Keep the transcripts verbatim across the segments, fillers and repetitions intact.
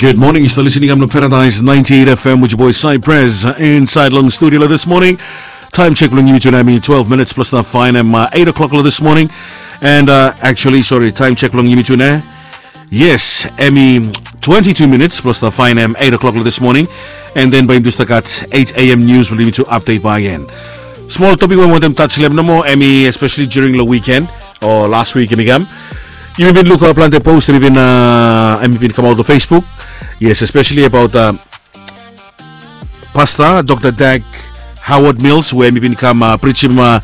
Good morning, yu stap listening am long Paradise ninety-eight F M with your boy Cypress, uh, inside long studio lo this morning. Time check bilong yumi tuna mi twelve minutes plus na fine em uh, eight o'clock lo this morning. And uh, actually, sorry, time check bilong yumi tuna. Yes, em i twenty-two minutes plus na fine em eight o'clock lo this morning. And then by yumi tu stap gat eight a.m. news bilong yumi tu update by again. Small topic we mi wantem touch lem nomo, em i especially during lo weekend or last week em i kam. Yumi bin luk planti post em i bin uh, em i bin kamaut lo Facebook. Yes, especially about uh, Pastor Dr. Dag Howard Mills, we em i bin kam uh, preachim uh,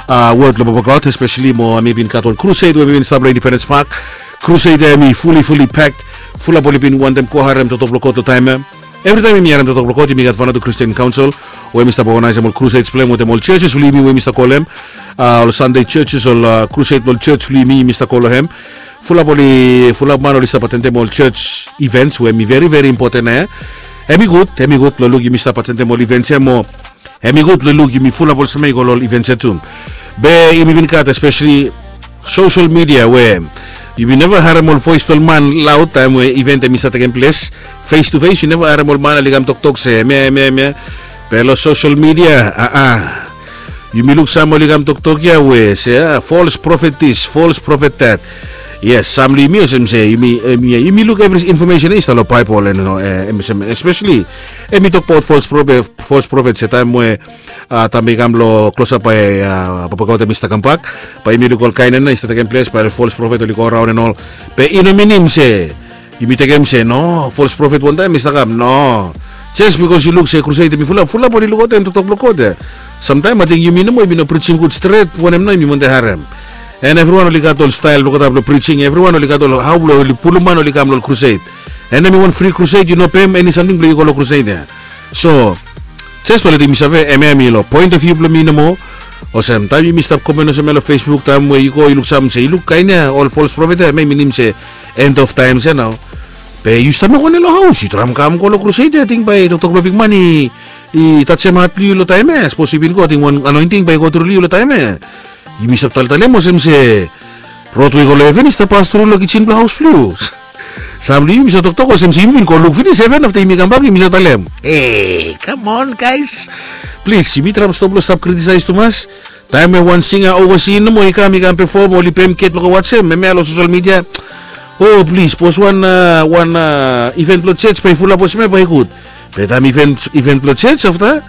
uh, word lo Papa God, especially mo em i bin gat wan crusade we em i bin stap lo Independence Park. Crusade em i fully fully packed. Fulap oli bin wantem go harem toktok blo God lo taim em. Everytaim yumi harim toktok blo God yumi gat Vanuatu Christian Council we yumi stap organisim ol crusades blo hem wetem ol churches blo yumi we yumi stap go lo hem. Uh, ol Sunday churches ol uh, crusade blo ol church blo yumi yumi stap go lo hem. Fulap oli fulap man oli stap atendem ol church events we em i very very important eh. Em i gud em i gud lo luk yumi stap atendem ol events ya mo. Em i gud lo luk yumi fulap olsem ya i go lo ol events ya tu. Be yumi bin gat especially social media we yumi neva harem ol voice blo ol man laut taim we event em i save tekem ples. Face to face yu neva harem ol man oli kam toktok se em ya em ya em ya. Be lo social media aa, yumi luk sam oli kam toktok ya we se ah, false prophet this, false prophet that. Yes, sam lo yumi olsem se yumi yumi luk evri information ya i stap lo Baibel and especially em i tokbaot false prophet se taim we taim i kam lo klosap bai papa God em i stap kambak, bai yumi luk ol kain en i stap tekem ples bai ol false prophet oli go raun en ol. Be i no minim se yumi tekem se no false prophet wantaim i stap kam no. Jes bikos yu luk se crusade em i fulap fulap oli lukaut em toktok blo God ya. Samtaim ating yumi nomo yumi no prijim gud stret wanem nao yumi wantaim harem. En evriwan oli gat ol stail blo God blo prijing evriwan oli gat ol hau blo oli pulum man oli kam lo ol crusade. En em i wan fri crusade yu no pem eni samting blo yu go lo crusade ya. So jes bai letim mi save em em i lo point of view blo mi nomo. Olsem taim yumi stap komen olsem ya lo Facebook taim we yu go yu luksam se yu luk kain ya ol false prophet ya em ya i minim se end of times ya nao. Be yu stap mekem wanem lo haus yu traem kam go lo crusade ya ting bai toktok blo bikman i tajem hat blo yu lo taim ya sapos yu bin go ting wan anointing bai i go tru lo yu lo taim ya. Yumi stap taltalem olsem se rod we i go lo heven i stap pas tru lo kijen blo haus blo yu. Sam blo yumi sa toktok olsem se yumi bin go luk finis heven afta yumi kambak yumi sa talem e kamon gais. Plis yumi traem stop lo stap kritisais tumas. Taem we wan singa ovasi nomo i kam i kam pefom oli pem get blo go wajem hemia lo sosel midia. O plis sapos wan wan iven blo jej bai fulap olsem ya bai gud. Be taem iven blo jej afta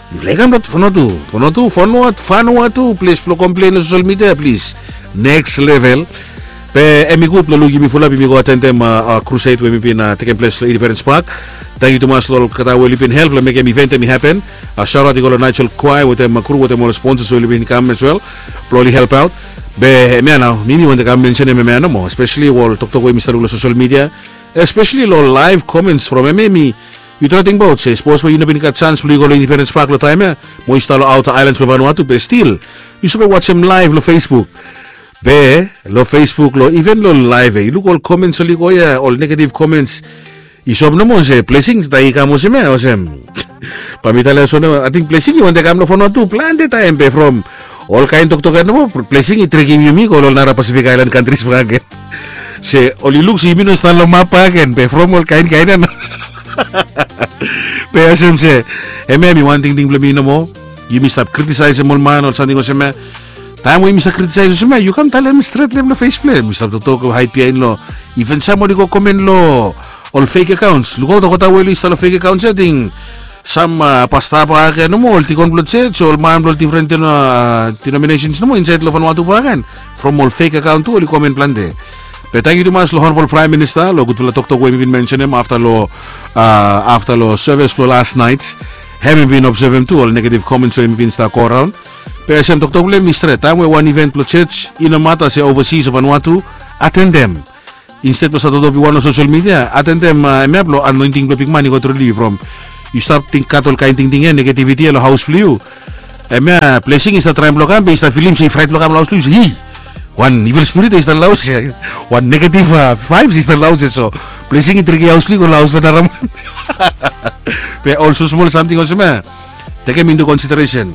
yufala i kam lo fanua tu fanua tu fanua tu fanua tu ples blo komplen lo sosel midia plis. Neks level. Be em i gud blo luk yumi fulap yumi go atendem krused we mi bin tekem ples lo indipendens pak. Tangkiu tumas lo olgeta we oli bin help lo mekem iven em i hapen. Saot i go lo naijel kwae wetem kru wetem ol sponsas we oli bin kam as wel blo oli helpaot. Be hemia nao mi mi wantem kam mensenem hemia nomo espeseli ol toktok we mi stap luk lo sosel midia. Espeseli lo laev komens from hemia mi yu trae tingbaot se sapos we yu no bin gat sans blo yu go long indipendens pak long taem ya mo yu stap long aota aelans blong vanua tu be stil yu save wajem laev long facebook. Be long facebook long iven long laev ya yu luk ol komens oli go ya ol negativ komens. Yu sop nomo se blesing taem i kam olsem ya olsem. Bae mi talem olsem nomo ating blesing i wantem kam long vanua tu plante taem be from olkaen toktok ya nomo blesing i trekim yumi go long nara pasifik aelan kantris bakagen. Se oli luk se yumi no stap long map bakagen be from ol kainkain ya nao. Be olsem se hemia em i wan tingting blong mi nomo. Yumi stap kritisaesem ol man ol samting olsem ya. Taem we yumi stap kritisais olsem ya yu kam talem stret long hem long fes blong hem yu stap toktok haid biaen long iven sam oli go komen long ol fek akaons lukaot olgeta we oli stap long fek akaons ya ting sam pasta bakagen nomo ol dikon blong jej ol man blong difren dinominasens nomo insaed long fanua tu bakagen. From ol fek akaon tu oli komen plante. Be tangkiu tumas long honabol praem minista long gudfala toktok we mi bin mensenem afta long afta long sevis blong las naet. Hem i bin obsevem tu ol negativ komens we mi bin stap go raon. Be olsem toktok blong hem i stret taem we wan iven blong jej i no mata se ovasis o vanua tu atendem. Insted blong save totopi wan long sosel midia atendem hemia blong anoenting blong bikman i go tru long yu from yu stap gat ol kaen tingting ya negativiti ya long haos blong yu. Hemia blesing i stap traem blong kam be i stap filim se i fraet blong kam long haos blong yu se hi wan ivel spirit ya i stap long haos ya. Wan negativ vaevs i stap long haos ya so blesing i triki haos blong yu go long haos blong naraman. Be ol smosmol samting olsem ya tekem intu konsideresen.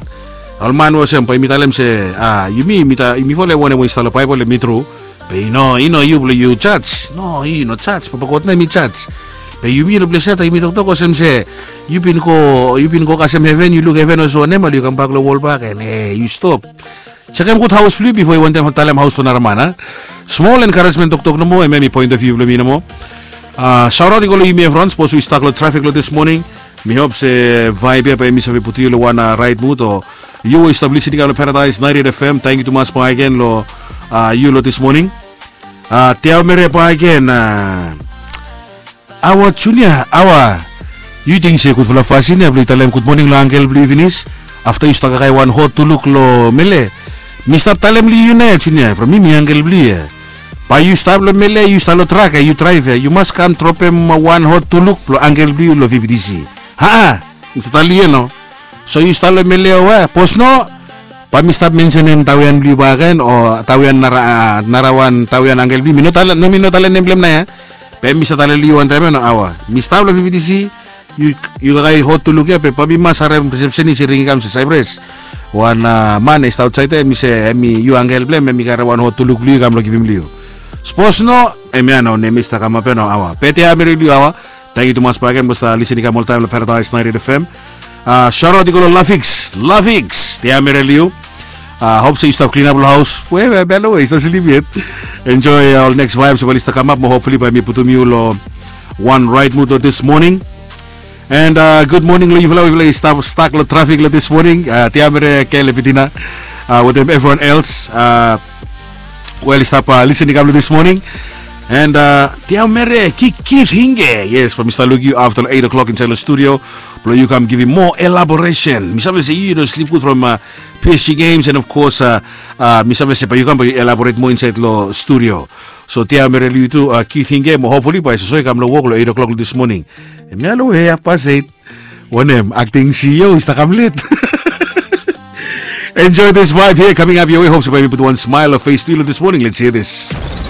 Ol man we olsem bae yumi talem se a yumi yumi fala wanem we i stap long baebol em i tru. Be i no i no yu blong yu jaj no i no jaj papa god na em i jaj. Be yumi long ples ya taem yumi toktok olsem se yu bin go, yu bin go kasem heven, yu luk heven olsem wanem, ale yu kambak long wol bak and e yu stop. Sekem gud haos blong yu bifo yu wantem talem haos blong nara man a. Smol enkaresmen toktok nomo, hemia mi poen of view blong mi nomo. Saoraot i go long yumi evriwan sapos yu stak long trafik long dis moning. Mi hop se vaeb ya bae mi save putum yu long wan raet mud o yu we yu stap lisin i kam long Paradise ninety eight F M, tangkiu tumas bakegen long yu long dis moning. Tiaomere bakegen. Awa Junia, awa. Yu ting se gudfala fasin ya blong yu talem gudmoning long angkel blong yu finis afta yu stap kakae wan hot tuluk long mele? Mi stap talem long yu nao ya Junia, from mi mi angkel blong yu ya. Bae yu stap long mele, yu stap long trak ya, yu draev ya, yu mas kam dropem wan hot tuluk blong angkel blong yu long V B T C. Haa, mi stap talem long yu ya nao. So yu stap long mele o we, sapos no, bae mi stap mensenem taoian blong yu bakegen o taoian nara, narawan taoian angkel blong yu. Mi no talem, no, mi no talem nem blong hem nao ya. Be mi stap talem long yu wantaem ya nao, awa. Mi stap long V B T C, yu, yu kakae hot tuluk ya, be bae mi mas harem resepsenis i ring i kam se, Saipres, wan man i stap aotsaed ya, hemi se hemi yu angkel blong hem, hemi karem wan hot tuluk blong yu i kam long givim long yu. Sapos no, hemia nao nem i stap kamap ya nao, awa. Be tiaomere long yu, awa. Tangkiu tumas bakegen blong stap lisin i kam oltaem long Paradise ninety eight F M. Saoraot i go long Lafiks, Lafiks, tiaomere long yu. Hop se yu stap klinap long haos. We, we, belo we yu stap slip yet. Enjoe ol neks vaebs we oli stap kamap mo hopfuli bae mi putum yu long wan raet mud long dis moning. And gud moning long yufala we yufala i stap stak long trafik long dis moning. Tiaomere Kele Bitina wetem evriwan els we oli stap lisin i kam long dis moning. And tiaomere Kiki Ringe. Yes, bae mi stap luk yu afta long eight o'clock insaed long studio blong yu kam givim moa elaboresen. Mi save se yu no slip gud from P S G games, and of course mi save se bae yu kam bae yu elaboret moa insaed long studio. So tiaomere long yu tu, Kiki Ringe, mo hopfuli bae soso i kam long wok long eight o'clock long dis moning. Hemia long we hafpas eight. Wanem, akting C E O i stap kam let. Enjoy this vibe here coming up your way. Hop se bae mi putum wan smael long fes blong yu long dis moning. Let's hear this.